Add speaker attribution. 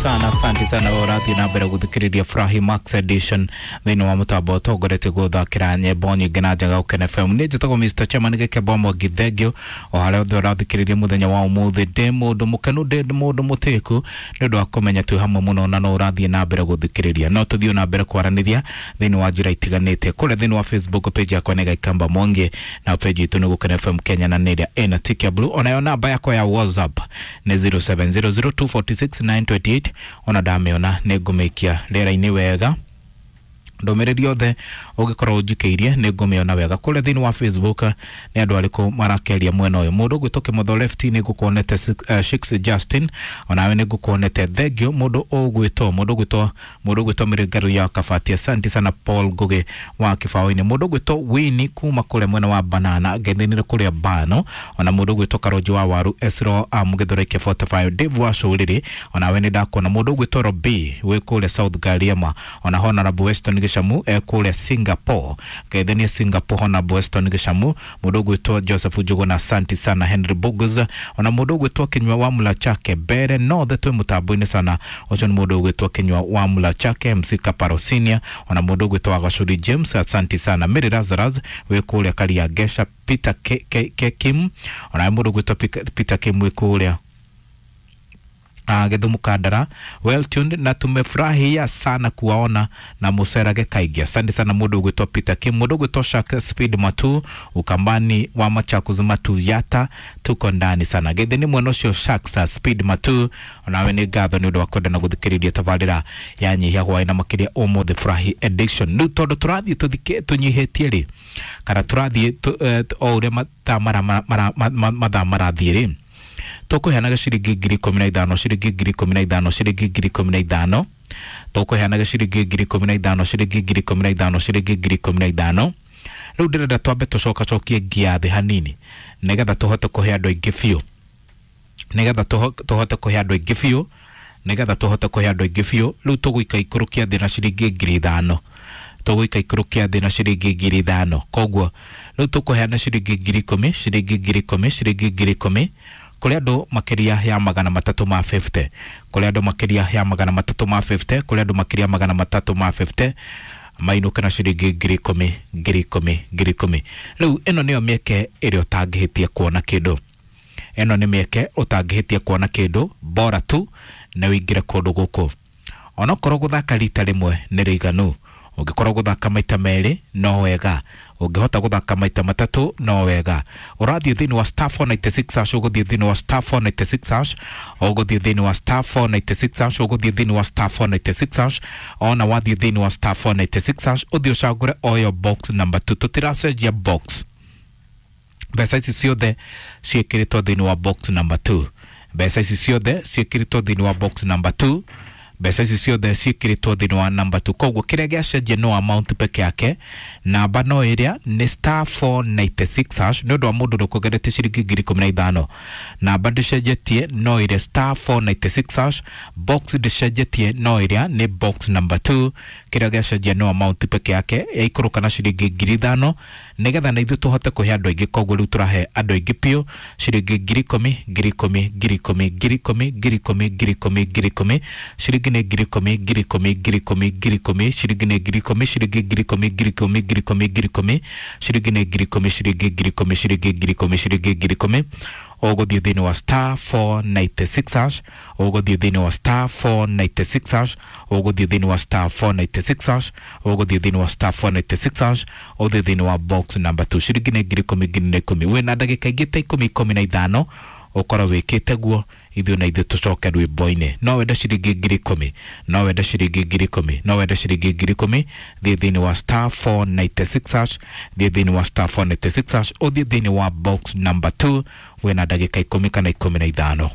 Speaker 1: Sana, asante sana ũrathiĩ na mbere gũthikĩrĩria Furahi Max Edition thĩinĩ wa mũtambo ũtongoretie gũthakĩra nyĩmbo nyingĩ na njega Gũkena FM. Nĩ njĩtagwo Mr. Chairman Gĩkembo Mwangi, thengio o harĩa othe ũrathikĩrĩria mũthenya wa ũmũthĩ. Ndĩ mũndũ mũkenu, ndĩ mũndũ mũtĩku nĩ ũndũ wa kũmenya twĩ hamwe mũno na no ũrathiĩ na mbere gũthikĩrĩria. No tũthiĩ na mbere kwaranĩria thĩinĩ wa njĩra itiganĩte kũrĩa thĩinĩ wa Facebook page yakwa nĩ Gĩkamba Mwangi, na page itũ nĩ Gũkena FM Kenya na nĩ ĩrĩa ĩna tick ya blue. Onayo namba yakwa ya WhatsApp nĩ 0700246928. Ona ndamĩona nĩ ngũmĩikia rĩera-inĩ wega. Ndũmĩrĩri yothe ũngĩkorwo ũnjikĩirie nĩ ngũmĩona wega. Kũrĩa thĩinĩ wa Facebook nĩ andũ arĩkũ marakĩaria mwena ũyũ? Mũndũ ũgwĩtwo Kĩmotho Left nĩ ngũkuonete, Shix Justin onawe nĩ ngũkuonete, thengio. Mũndũ ũgwĩtwo Mĩrĩngaru ya Kabati, asante sana. Paul Ngugi wa Kĩbaũ-inĩ, mũndũ ũgwĩtwo Winnie kuma kũrĩa mwena wa Banana ngethinire kũrĩa Bano, ona mũndũ ũgwĩtwo Karonji wa Waru Esro Mũgĩthũraike 45, Dave wa Cũrĩrĩ onawe nĩ ndakuona. Mũndũ ũgwĩtwo Robi wĩ kũrĩa South Gariema, ona Honorable Weston Gĩcamu e kũrĩa Singapore, ngeithanie Singapore Honorable Weston Gĩcamu. Mũndũ ũgwĩtwo Joseph Njuguna, asante sana. Henry Bogus, ona mũndũ ũgwĩtwo Kinyua wa Mula Chake Mbere North, twĩ mũtambo-inĩ sana. Ũcio nĩ mũndũ ũgwĩtwo Kinyua wa Mula Chake MC Kaparo Senior, ona mũndũ ũgwĩtwo Wagacuri James, asante sana. Mary Lazarus wĩ kũrĩa Karia Gesha, Peter K, K, K, Kim, ona mũndũ ũgwĩtwo Peter Kim wĩ kũrĩa Gĩthumo Kandara, well tuned na tumefurahia sana kuwaona na mucerage kaingĩ, asante sana mũndũ ũgwĩtwo Peter Kim. Mũndũ ũgwĩtwo Shak Speed Matu Ukambani wa Machakos Matu Yata, tuko ndani sana. Gĩthĩ nĩ mwena ũcio Shak Speed Matu, onawe nĩ ngatho nĩ ũndũ wa kwenda na gũthikĩrĩria tabarĩra ya Nyihia Hwaĩ na makĩria ũmũthĩ Furahi Edition. Rĩu tondũ tũrathiĩ tũnyihĩtie rĩ, kana tũrathiĩ o ũrĩa mathaa marathiĩ rĩ, tũkũheanaga ciringi 15,000, ciringi 15,000, ciringi 15,000. Tũkũheanaga ciringi 15,000, ciringi 15,000, ciringi 15,000. Rĩu ndĩrenda twambe tũcokacokie ngia thĩ hanini nĩgetha tũhote kũhe andũ aingĩ biũ, nĩgetha tũhote kũhe andũ aingĩ biũ, nĩgetha tũhote kũhe andũ aingĩ biũ. Rĩu tũgũika ikũrũkia thĩ na ciringi 5,000, tũgũika ikũrũkia thĩ na ciringi 5,000. Koguo rĩu tũkũheana ciringi 10,000, ciringi 10,000, ciringi 10,000 kũrĩ andũ makĩria ya 350, kũrĩ andũ makĩria ya 350, kũrĩ andũ makĩria 350 mainũke na ciringi 10,000, 10,000, 10,000. Rĩu ĩno nĩyo mĩeke ĩrĩa ũtangĩhĩtia kuona kĩndũ. Ĩno nĩ mĩeke ũtangĩhĩtia kuona kĩndũ, bora tu na ũingĩre kũndũ gũkũ. Onokorwo gũthaka rita rĩmwe nĩ rĩiganu, ũngĩkorwo gũthaka maita merĩ no wega, ũngĩhota gũthaka maita matatũ no wega. Ũrathiĩ thĩinĩ wa *496#, ũgũthiĩ thĩinĩ wa *496#, ũgũthiĩ thĩinĩ wa *496#, ũgũthiĩ thĩinĩ wa *496#. Ona wathiĩ thĩinĩ wa *496# ũthiĩ ũcagũre oyo box number 2. Tũtiracenjia box, mbeca ici ciothe ciĩkĩrĩtwo thĩinĩ wa box number 2. Mbeca ici ciothe ciĩkĩrĩtwo thĩinĩ wa box number 2. Mbeca ici ciothe ciĩkĩrĩtwo thĩinĩ wa number 2. Koguo kĩrĩa gĩacenjia no amount peke yake, namba no ĩrĩa nĩ *496#. Nĩ ũndũ wa mũndũ ũrĩa ciringi 15,000, namba ndĩcenjetie, no ĩrĩa *496#. Box ndĩcenjetie, no ĩrĩa nĩ box number 2. Kĩrĩa gĩacenjia no amount peke yake, yaikũrũka na ciringi 5,000 nĩgetha na ithuĩ tũhote kũhe andũ aingĩ. Koguo rĩu tũrahe andũ aingĩ biũ ciringi 10,000, 10,000, 10,000, 10,000, 10,000, 10,000, 10,000. Ciringi nĩ 10,000, 10,000, 10,000, 10,000. Ciringi nĩ 10,000, ciringi 10,000, 10,000, 10,000, 10,000. Ciringi nĩ 10,000, ciringi 10,000, ciringi 10,000, ciringi 10,000. Ũgũthiĩ thĩinĩ wa *496#, ũgũthiĩ thĩinĩ wa *496#, ũgũthiĩ thĩinĩ wa *496#, ũgũthiĩ thĩinĩ wa *496#, ũthiĩ thĩinĩ wa box number 2. Ciringi nĩ 10,000, 10,000. Wĩna ndagĩka ingĩ ta 10, 15 ũkorwo wĩkĩte guo, ithuĩ na ithuĩ tũcoke rwĩmbo-inĩ. No wende ciringi 10,000, no wende ciringi 10,000, no wende ciringi 10,000. Thiĩ thĩinĩ wa *496#, thiĩ thĩinĩ wa *496#, ũthiĩ thĩinĩ wa box number 2. Wĩna ndagĩka 10 kana 15.